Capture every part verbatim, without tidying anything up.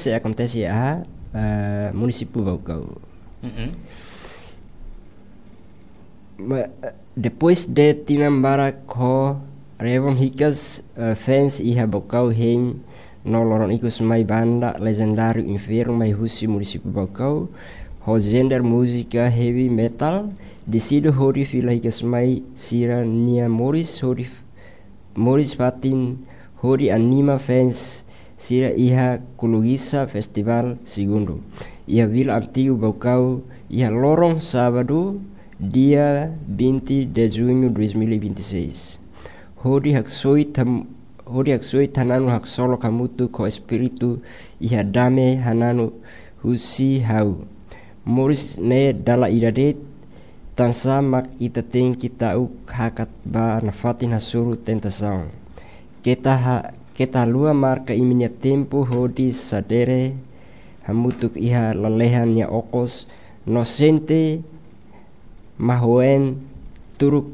sei akontese iha, eh, munisípiu Baucau. Mm-mm. Ma, eh, depois de tinan barak ho Revon hikas, eh, fans iha Baucau hein no loron ikus mai banda lejendáriu Inferno mai husi munisípiu Baucau, ho genre múzika heavy metal, deside hodi fila hikas mai sira-nia moris hodi moris fatin hodi anima fans sira iha Kulugisa Festival Segundu, iha Vila Antigu Baucau, iha loron sábadu, dia vinte de junho dois mil e vinte e seis. Hodi haksoit ham-, hodi haksoit hananu haksolok hamutuk ho espíritu iha dame hananu husi ha'u. Moris ne'e dala ida de'it, tansá mak ita tenke ta'uk hakat ba nafatin hasoru tentasaun. Keta ha-, keta haluha marka imi-nia tempu hodi sadere hamutuk iha lalehan nia okos, no sente mahon turuk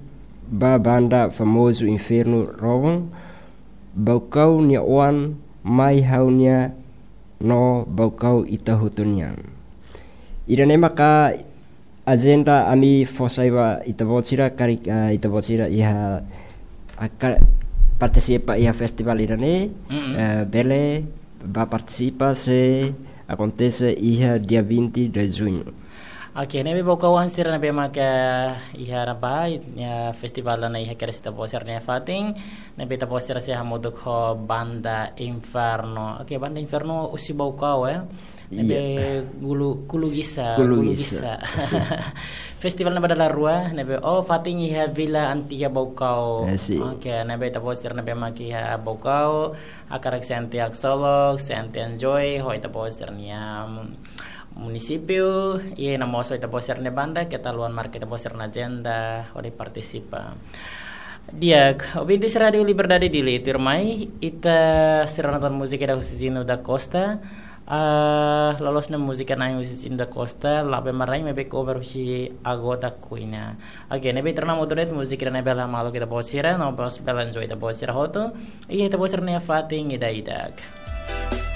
ba banda famozu Inferno Revon, Baucau nia oan mai ha'u-nian no Baucau ita hotu nian. Ida-ne'e maka ajenda ami fó sai ba ita-boot sira karik, eh, ita-boot sira iha, ah, ka-, partisipa iha festival ida-ne'e, Mm-mm. eh, bele bá partisipa se akontese iha dia vinte de junho. Oke, ne'ebé Baucau oan sira ne'ebé maka iha ne'ebá, iha festival ida-ne'e iha kedas ita-boot sira-nia fatin, ne'ebé ita-boot sira sei hamutuk ho banda Inferno. Oke, banda Inferno husi Baucau, eh. Ne'ebé Iya. Kulu-, Kulugisa, Kulugisa. Kulugisa. Sin. Festival ne'ebá dala rua, ne'ebé, oh, fatin iha Vila Antigu Baucau. Eh, sin. Oke, ne'ebé ita-boot sira ne'ebé mak iha Baucau, hakarak sente haksolok, sente enjoy ho ita-boot sira-nia, mm, munisípiu, i no mós ho ita-boot sira-nia banda, keta haluha marka ita-boot sira-nia ajenda hodi partisipa. Di'ak, ouvintes Rádio Liberdade Dili, tuirmai ita sei rona tan múzika ida husi Zino da Costa. Ah, loloos ne'e múzika na'in husi Zino da Costa, La'o Bee Marain, maibé cover husi Agoda Kuina. Oke, ne'ebé ita rona mós de'it múzika ida-ne'e bele hamaluk ita-boot sira, no mós bele enjoy ita-boot sira hotu. Iha ita-boot sira-nia fatin ida-idak.